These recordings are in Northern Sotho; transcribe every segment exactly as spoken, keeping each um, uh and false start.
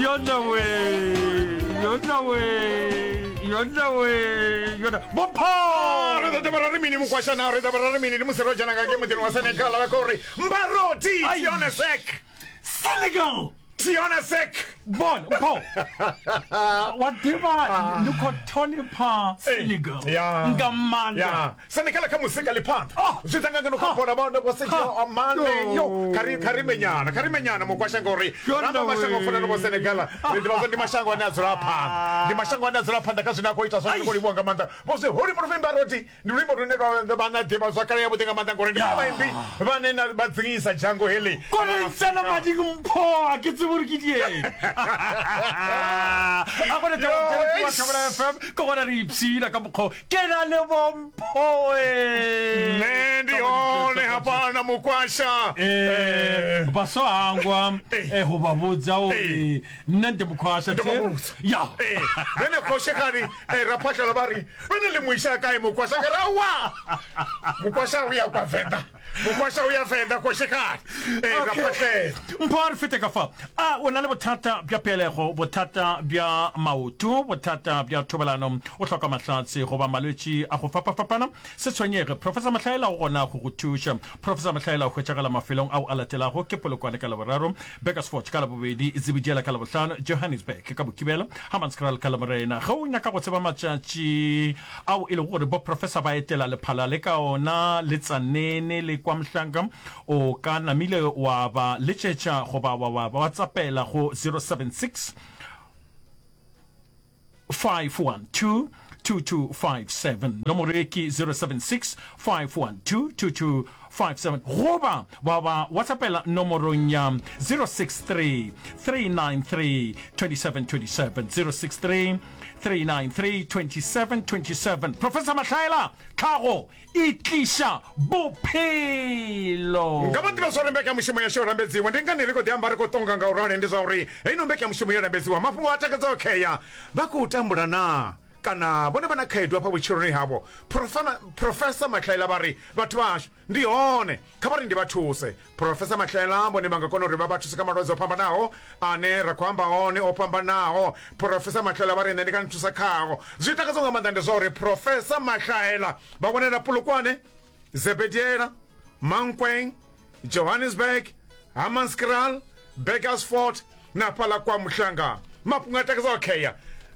Yona we, yona we, yona we, yona. Bopho! Re ḓo ḓa ra ri mini mukwashana, ri ḓa ra ri mini ndi musi ro dzhena nga ngei muḓini wa Senegal vha khou ri Mbaroti Tione Sek. Senegal! Tione Sek. Bona, mpho. Wa ḓivha ndi khou ṱhonifha Senegal Ya. nga maanḓa. Ya. Senegal kha muzika ḽi phanḓa. Oh. Zwi ḓa nga ngeno kha bola vha vho Sergio Mane yo kha ri kha ri menyana kha ri menyana mukwasha ngori Yona ramba mashango we. fana na vho Senegal ri ḓivha zwa ndi mashango ane a dzula phanḓa ndi mashango ane a dzula phanḓa kha zwine a khou ita zwone ndi khou livhuwa nga maanḓa vho zwi holi murufhi Mbaroti ndi luimbo lune lwa vha na ḓivha zwakale ya vhuḓi nga maanḓa ngori ndi vhone vhaimbi vhane na vha dzingisa dzhango heḽi Kore tsena mading mpho a ke tsebe gore ke dieng. A gone Yo, taba eish. Thobela F M ke gona re ipshina ka mokgwa o. Ke na le bompho e. Nṋe ndi hone hafha mukwasha Eh, vha so hangwa eh, go ba botsa gore nna nte mokhwasha Ndo vha vhudza. ya Eh, vhene khoshekani eh, raphahlela vha ri vhene ḽi muisa kae mukwasha ka ra wa mukwasha u ya kwa venḓa mukwasha u ya venḓa khoshekani eh, raphahlela mpho a re fete ka fa a o na le bothata bja pelego bothata bja maoto bothata bja thobalano o hloka mahlatse goba malwetši a go fapafapana se tshwenyege professor Mahlaela o gona go go thuša professor Mahlaela o hwetšagala mafelong ao a latelago ke Polokwane ka Laboraro Burgersfort ka Labobedi Zebediela ka Labohlano Johannesburg ka Mokibelo Hammanskraal ka Lamorena ge o nyaka go tseba matšatši ao e lego gore bo professor ba etela lephala le ka ona le Tsanene le kwa Mhlanga o ka namile wa ba letšetša goba wa wa whatsappela go zero seven six five one two two two five seven nomoro e ke zero seven six five one two two two five seven goba wa ba whatsappela nomorong ya zero six three three nine three twenty seven twenty seven zero six three three nine three twenty seven twenty seven Professor Mahlaela tlhago e tliša bophelo nga vha ḓivha zwa uri mbekanyamushumo yashu yo lambedziwa ndi ngani ri khou ḓi amba ri khou tonga nga u rali ndi zwa uri heino mbekanyamushumo yo lambedziwa mafhungo a takadzaho khea vha khou tambula na kana vhone vha na khaedu hafha vhutshiloni havho Profana- Professor Mahlaela vha ri vhathu vhashu ndi hone kha vha ri ndi vha thuse Professor Mahlaela vhone vha nga kona uri vha vha thuse kha malwadze o fhambanaho ane ra khou amba one o fhambanaho Professor Mahlaela vha ri nṋe ndi nga ni thusa khao zwi takadzaho nga maanḓa ndi zwa uri Professor Mahlaela vha wanela Polokwane Zebediela Mankweng Johannesburg Hammanskraal Burgersfort na fhaḽa kwa Muhlanga mafhungo a takadzaho khea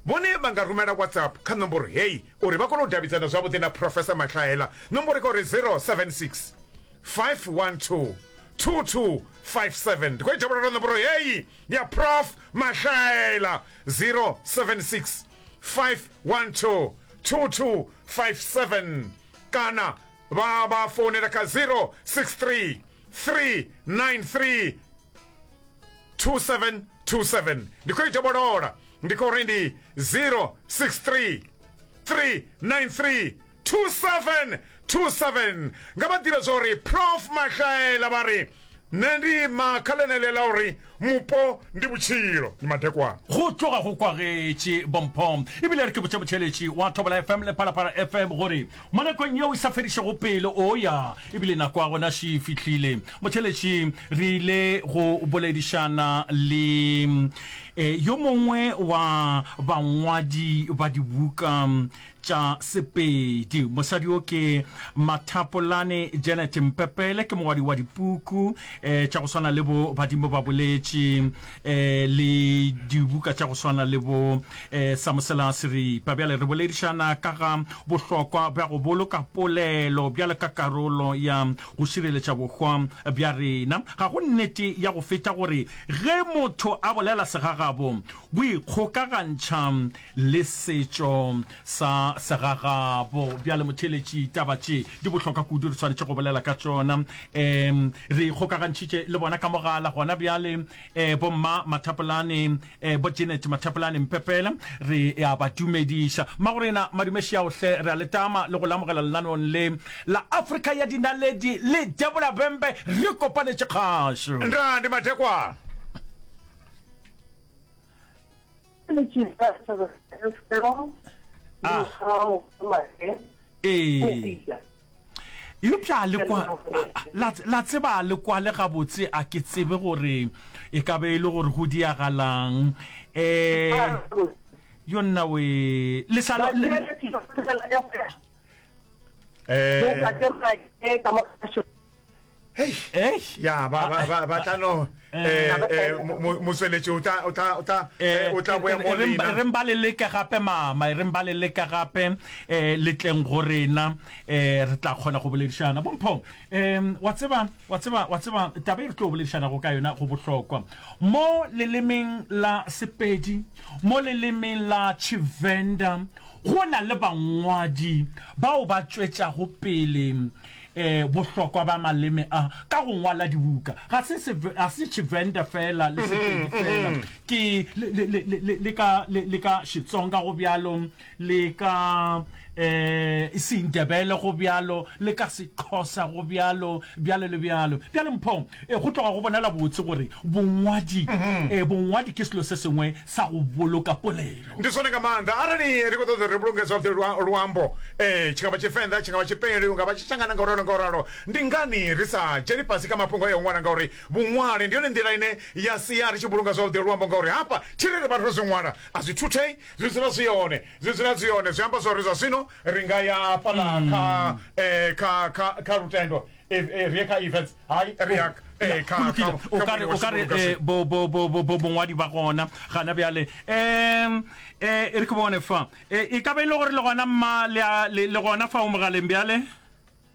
vhone vha nga rumela WhatsApp kha nomboro heyi uri vha kone u davhidzana zwavhuḓi na Professor Mahlaela nomboro i uri zero seven six five one two two two five seven ndi khou i dovholola nomboro heyi ya Prof Mahlaela zero seven six five one two two two five seven kana vha vha founela kha zero six three three nine three two seven two seven ndi khou i dovholola ndi khou ri ndi zero six three three nine three two seven two seven nga vha ḓivhe zwa uri Prof Mahlaela vha ri nṋe ndi ima kha ḽeneḽi ḽa uri mupo ndi vhutshilo ndi madekwana go tloga go kwagetše bompho ebile re ke botše botšheletši wa Thobela F M le Phalaphala F M gore mo nakong yeo e sa fedišego pele o ya ebile nako ya gona še e fihlile motšheletši re ile go boledišana le eh, yo mongwe wa bangwadi ba dibuka tša Sepedi mosadi o ke Mathapolane Janet Mpepele ke mongwadi wa dipuku eh, tša go swana le bo badimo ba boletše eh, le dibuka tša go swana le bo eh, Samosela Seripa bjale re boledišana ka ga bohlokwa bja go boloka polelo bjale ka karolo ya go šireletša bohwa bja rena ga go nnete ya go feta gore ge motho a bolela segagabo bo ikgokagantšha le setšo sa segagabo bjale motheletši taba tše di bohlokwa kudu re swanetše go bolela ka tšona um re ikgokagantšhitše le bona ka mogala gona bjale um bomma Mathapolane um bo Janet Mathapolane Mpepele re ya ba dumediša mmagorena madumešiaohle re a letama le go lamogela lenaneong le la Afrika ya dinaledi le Debola Bembe re kopanetše kgašo nda ndi madekwana Ah. Ee. Eupša le kwa, la, la tseba le kwale gabotse, a ke tsebe gore e ka be e le gore go diagalang. Eh, yo nna we, le sa le, eh Hei, ya ba ba ba ba tla no eh eh motsweletši o tla o tla o tla o tla boya mo lena. Re mba le leke gape mama, re mba le leke gape eh le tleng go rena eh re tla kgona go boledišana. Bompho, eh wa tseba wa tseba wa tseba taba e re tlo boledišana go ka yona go bohlokwa. Mo lelemeng la Sepedi, mo lelemeng la Tshivenda go na le bangwadi bao ba tšwetšago pele eh bohlokwa ba maleme a ka go ngwala dibuka. Ga se ga se Tshivenda fela le Sepedi fela, ke le le le le ka le ka Xitsonga go bjalo, le ka eh Sindebele go bjalo, le ka Sexhosa go bjalo, bjalo le bjalo. Bjale Mpho, go tloga go bonala botse gore bongwadi eh bongwadi ke selo se sengwe sa go boloka polelo. Ndi zwone nga maanḓa arali ri khou ṱoḓa ri vhulunge zwavhuḓi luambo, eh tshi nga vha Tshivenḓa, tshi nga vha Tshipedi, nga vha Tshitshangana nga uralo nga uralo, ndi ngani ri sa dzheni fhasi kha mafhungo ya u ṅwala? Ngauri vhuṅwali ndi yone nḓila ine ya sia ri tshi vhulunga zwavhuḓi luambo, ngauri hafha thi ri ri vhathu ro zwi ṅwala a zwi thuthei, zwi dzula zwi hone, zwi dzula zwi hone. Zwi amba zwori zwa zwino ri nga ya fhaḽa kha eh kha kha kha lutendo, ri ye kha events, hai ri ya kha kha o ka re o ka re bo bo bo bo bo bongwadi ba gona gana bjale. Em eh re ke bone fa e ka ba ile gore le gona mma le le gona fa o mogaleng bjale.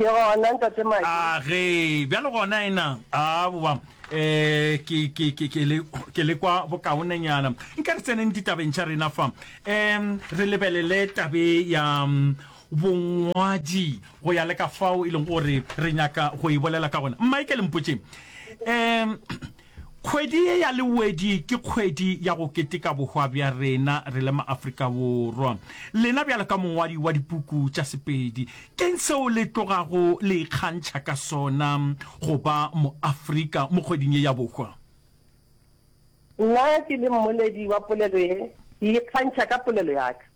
Ke gona ntate Maki. A ge bjale gona ena a boa eh ke ke ke ke le ke le kwa bokaonenyana. Nka re tseneng ditabeng tša rena fa. Em re lebelele tabe ya bongwadi go ya le ka fao e leng gore re nyaka go e bolela ka gona. Mma ke le mpotše, em kgwedi ye ya Lewedi ke kgwedi ya go keteka bohwa bja rena re le maAfrika Borwa. Lena bjalo ka mongwadi wa dipuku tša Sepedi, ke'ng seo le tlogago le ikgantšha ka sona go ba moAfrika mo kgweding ye ya bohwa? Nna ke le mmoledi wa polelo ye, ke ikgantšha ka polelo ya ka.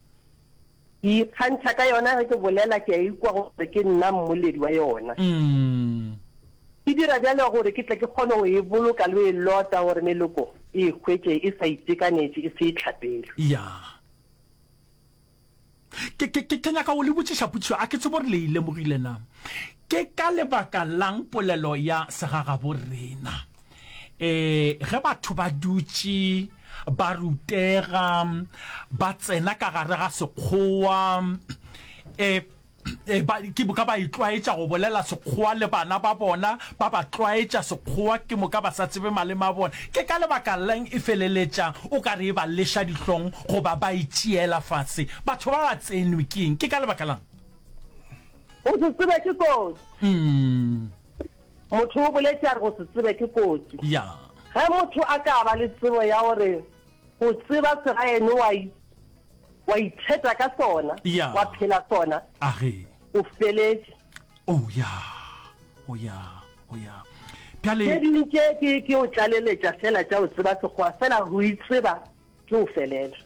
Ke ikgantšha ka yona ge ke bolela, ke a ikwa gore ke nna mmoledi wa yona. Ke dira bjalo gore ke tle ke kgone go e boloka le go e lota gore meloko e e hwetše e sa itekanetše, e se e hlapelwe. Ya. Ke, ke, ke, ke nyaka go le botšiša potšišo, a ke tsebe gore le e lemogile na. Ke ka lebaka la'ng polelo ya segagabo rena, e, ge batho ba dutše ba rutega, ba tsena ka gare ga sekgowa, e, e, ba, ke moka ba itlwaetša go bolela sekgowa le bana ba bona, ba ba tlwaetša sekgowa, ke moka ba sa tsebe maleme a bona. Ke ka lebaka la'ng e feleletša o ka re e ba leša dihlong goba ba e tšeela fase? Batho ba ba tsenwe ke eng? Ke ka lebaka la'ng? Go se tsebe ke kotsi. Motho o boletše a re go se tsebe ke kotsi. Ya. Ge motho a ka ba le tsebo ya gore go tseba segaeno wa wa itheta ka sona, Ya. wa phela sona, A ge. o feletše. Oh ya, oh ya, oh ya. Bjale. Tše ding tše ke ke o tlaleletša fela tša go tseba Sekgowa, fela go itseba ke go felela.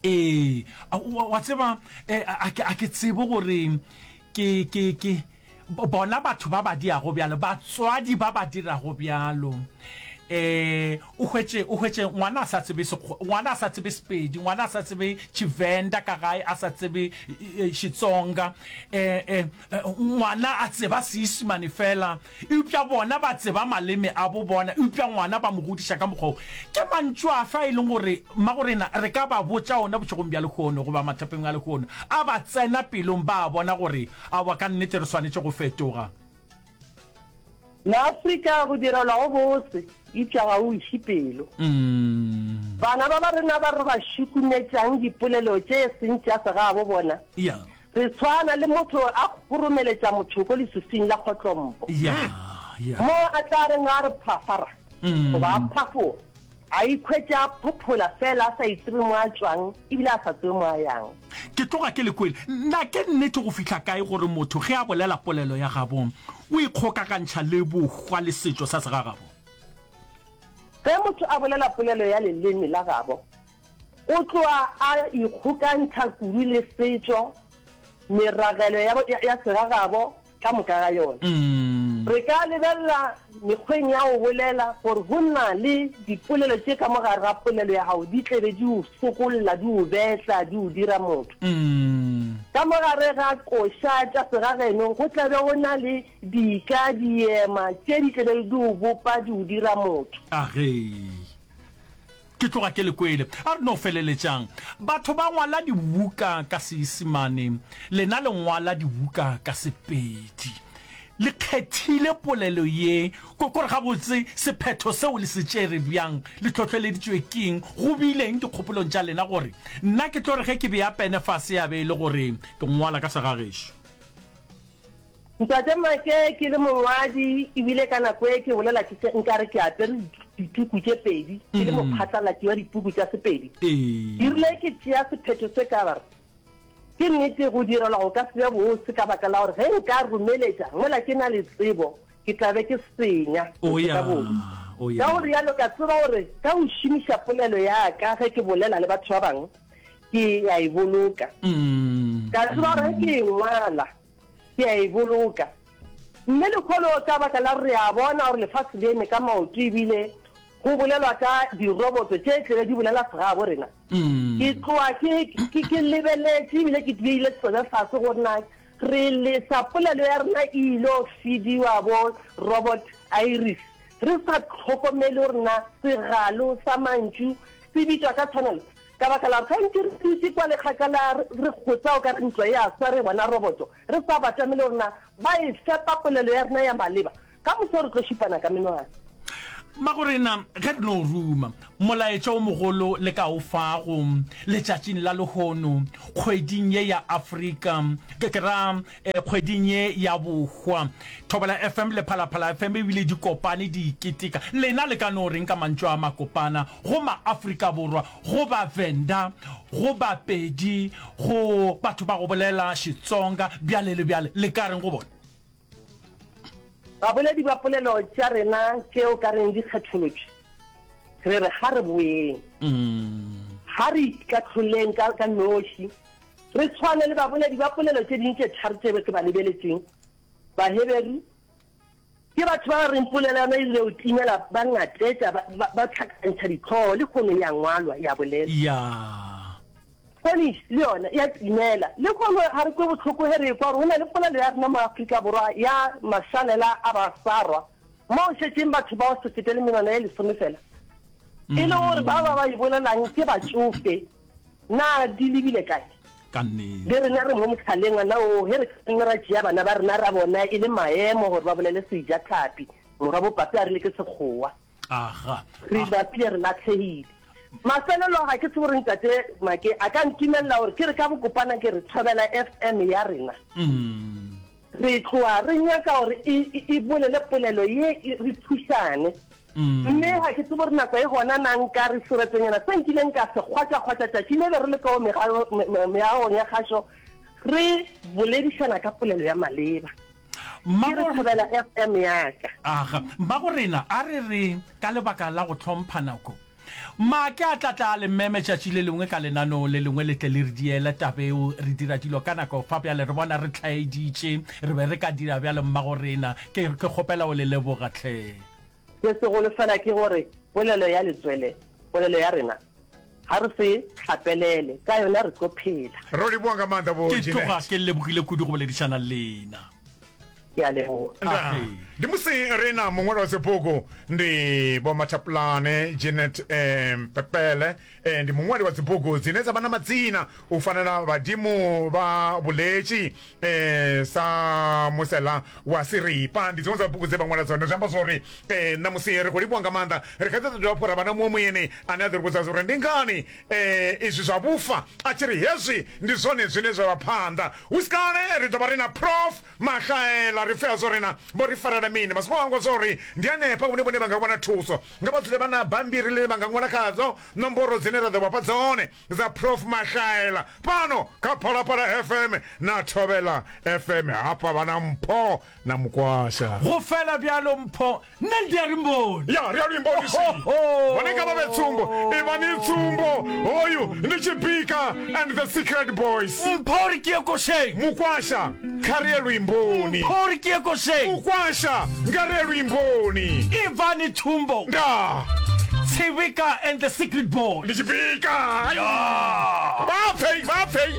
Ee, wa, wa tseba, eh, a ke, a ke tsebe gore ke, ke, ke, bona batho ba ba diago bjalo, batswadi ba ba dirago bjalo, eh, o hwetše, o hwetše ngwana a sa tsebe Sekgowa, ngwana a sa tsebe Sepedi, ngwana a sa tsebe Tshivenda ka gae, a sa tsebe Xitsonga, eh, eh, ngwana a tseba Seisemane fela, eupša bona ba tseba maleme a bo bona, eupša ngwana ba mo godiša ka mokgwa wo. Ke mantšu afe a e leng gore mmagorena re ka ba botša ona bošegong bja lehono goba mathapeng a lehono, a ba tsena pelong ba bona gore aowa ka nnete re swanetše go fetoga? Maafrika go direlwa go bose, eupša ga o iše pelo. Bana ba ba rena ba re ba šukumetšang dipolelo tše e seng tša segabo bona, re tshwana le motho a kgoromeletša motšhoko leswiswing la kgotlompo, mo a tla reng a re phafara goba a phafoga, a ikhwetše a phophola fela a sa itsebe mo a tšwang ebile a sa tsebe mo a yang. Ke tloga ke le kwele. Na ke nnete go fihla kae gore motho ge a bolela polelo ya gabo o ikgokagantšha le bohwa le setšo sa segagabo? Ge motho a bolela polelo ya leleme la gabo, o tloga a ikgokantšha kudu le setšo, meragelo ya, ya, ya segagabo ka moka ga yona. Re ka lebelela mekgweng ya go bolela gore go na le dipolelo tše ka mo gare ga polelo ya gago di tle be di o sokolla, di o betla, di o dira motho. Ka mo gare ga koša tša segageno go tla be go na le dika, diema tše di tle be di o bopa, di o dira motho. Age. Ke tloga ke le kwele. A re no feleletšang. Batho ba ngwala dibuka ka Seisemane, lena le ngwala dibuka ka Sepedi. Le kgethile polelo ye, ko, kore gabotse sephetho seo le se tšere bjang? Le hlohleleditšwe keng? Go bile eng dikgopolong tša lena gore nna ke tlo re ge ke bea pene fase ya be e le gore ke ngwala ka segagešo? Ntate Make, Ke le mongwadi, ebile ka nako e ke bolela ke se nkare ke apere dituku tše pedi, ke le mophatlalatši wa dipuku tša Sepedi. Ke rile ke tšea sephetho se ka re, Ke nnete go direlwa go ka se be bose ka baka la gore ge nka romeletša mola ke na le tsebo, ke tla be ke senya go feta bobe. Ka go realo ka tseba gore ka go šomiša polelo ya ka ge ke bolela le batho ba bangwe, ke a e boloka. Ka tseba gore ge ke e ngwala, ke a e boloka. Mme lehono ka baka la gore re a bona gore lefase le eme ka maoto ebile go bolelwa ka diroboto tše tlebe di bolela segabo rena, ke tloga ke, ke, ke lebeletše ebile ke beile tsebe fase gore na re lesa polelo ya rena e ilo fidiwa bo robot Iris re sa hlokomele gore na segalo sa mantšu se bitšwa ka tshwanelo. Ka baka la gore gantši re dutše kwa le kgakala re kgotsa o ka re ntlo e a swa re bona roboto, re sa batamele gore na ba e fepa polelo ya rena ya maleba. Ka moso re tlo šupana ka menwana. Mmagorena, ge re no ruma, molaetša o mogolo le ka o fago letšatšing la lehono, kgweding ye ya Afrika, ke, ke ra, eh, kgweding ye ya bohwa, Thobela F M le Phalaphala F M ebile di kopane di iketeka. Lena le ka no reng ka mantšu a makopana go ma-Afrika Borwa, go Bavenda, go Bapedi, go batho ba go bolela Xitsonga, bjale le bjale, le ka reng go bona? Baboledi ba polelo tša rena tše o ka reng di kgetholotšwe, re re ga re boeng, ga re ikahloleng ka, ka noši, re tshwane le baboledi ba polelo tše ding tše tharo tše ke ba lebeletšeng. Baheberu ke batho ba ba reng polelo ya bona e rile go timela, ba ngatetša, ba, ba, ba hlakantšha dihlogo, lehono e a ngwalwa, e a bolelwa. Ya. Spanish le yona e a timela. Lehono ga re kwe bohloko ge re ekwa gore go na le polelo ya rena mo Afrika Borwa ya mašalela a Basarwa mo go šetšeng batho ba go se fete le menwana ye lesome fela, e le gore ba ba ba e bolelang ke batšofe. Na di lebile kae? Ka nnete. Le rena re mo mohlaleng ona woo ge re ka nna ra tšea bana ba rena ra bona e le maemo gore ba bolele Sejatlhapi, morwa bopape a rile ke Sekgowa. Aga. Re bapile re lahlegile. Mafelelo ga ke tsebe gore ntate Make a ka ntumelela gore ke re ka bokopana ke re Thobela F M ya rena. Re tloga re nyaka gore e, e, e bolele polelo ye e, re thušane. Mme ga ke tsebe gore nako e gona na nka re seretonyana se nkileng ka se kgwatša-kgwatša tšatši le be re le ka meagong ya kgašo re boledišana ka polelo ya maleba. Ke re Thobela F M ya ka. Aga, mmagorena, a re re ka lebaka la go hlompha nako, Make a tla tla a le meme tšatši le lengwe ka lenaneo le lengwe le tle le re diele tabeo. Re dira dilo ka nako fa bjale, re bona re hlaeditše, re be re ka dira bjalo mmagorena. Ke, ke kgopela o le leboga hle. Se segolo fela ke gore polelo ya letswele, polelo ya rena, ga re se hlapelele, ka yona re tlo phela. Ro leboga nga maanḓa Vho Ke tloga Jeanette. ke lebogile kudu go boledišana le lena. Ke a leboga. Ndaa. Ndi musi ri na muṅwali wa dzibugu ndi Vho Mathapulane Jeanette eh, Mpepele eh, ndi muṅwali wa dzibugu dzine dza vha na madzina u fana na Vhadimu vha Vhuletshi eh, sa Musela wa Siripa. Ndi dziṅwe dza bugu dze vha ṅwala dzone. Zwi amba zwori eh, ṋamusi ri khou livhuwa nga maanḓa. Ri kha ḓi ḓo dovha hafhu ra vha na muṅwe muyeni ane a ḓo ri vhudza uri ndi ngani eh, izwi zwa vhufa a tshi ri hezwi ndi zwone zwine zwa vha phanḓa. Hu si kale ri ḓo vha ri na Prof Mahlaela. Ri pfe zwo ri na vho ri farela mini. Vha songo hangwa zwa uri ndi hanefha hune vhone vha nga wana thuso. Nga vha dzule vha na bammbiri ḽine vha nga ṅwala khadzo nomboro dzine ra ḓo vha fha dzone dza Prof Mahlaela fhano kha Phalaphala F M na Thobela F M. Hafha vha na Mpho na Mukwasha. Go fela bjalo Mpho, nne ndi a ri mboni. Ya, ri a luimbo ndi si. Vhone nga vha vhe tsumbo. Ivhani tsumbo. Hoyu ndi Tshibika and the Secret Boys. Mpho o re ke ye košeng. Mukwasha. Kha ri ye luimboni. Mpho ri ke ye košeng. Mukwasha, Nga ri ye luimboni. Ivani Thumbo. Ndaa. Tshivhika and the Secret Boy. Ndi tshi bika. Ya. Vha pfei, vha pfei.